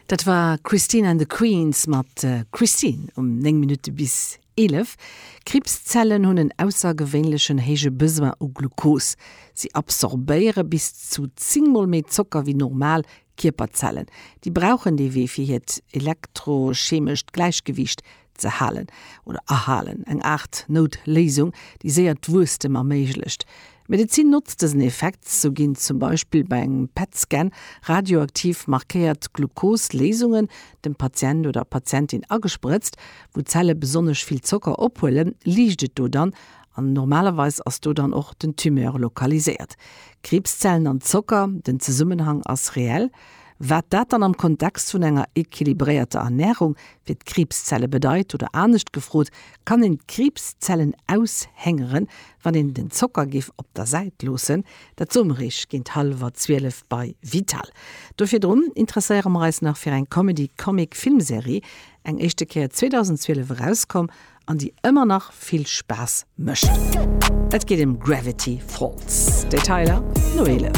Dat war Christine and the Queens mat Christine um 9 Minutte bis 11. Kriibszellen hunn en aussergewéinlechen héije Besoin u Glukos. Si absorbéiere bis zu 10 mol méi Zocker wéi normal Kierperzellen. Déi brauchen dee Wee fir hiert elektrochemescht Gläichgewiicht ze halen oder erhalen, eng Aart Noutléisung, déi séier d'Wuesstem erméiglecht. D'Medezin notzt dësen Effekt, sou ginn zum Beispill bei engem PET-Scan radioaktiv markéiert Glukos-Léisungen dem Patient oder Patientin agesprëtzt. Wou d'Zelle besonnesch vill Zocker ophuelen, liicht et do dann an normalerweis ass do dann och den Tumeur lokaliséiert. Kriibszellen an Zocker, den Zesummenhang ass reell. Wat dat dann am Kontext vun enger equilibréierter Ernärung fir d'Kriibszelle bedeit, oder anescht gefrot, kann een d'Kriibszellen aushéngeren, wann een den Zocker géif op der Säit loossen? Dat soe mer iech géint hallwer 12 bei Vital. Do virdrun interesséiere mer eis nach fir eng Comedy-Comic-Filmserie, eng éischte Kéier 2012 erauskomm an déi ëmmer nach vill Spaass mécht. Et geet ëm Gravity Falls. Detailer no 11.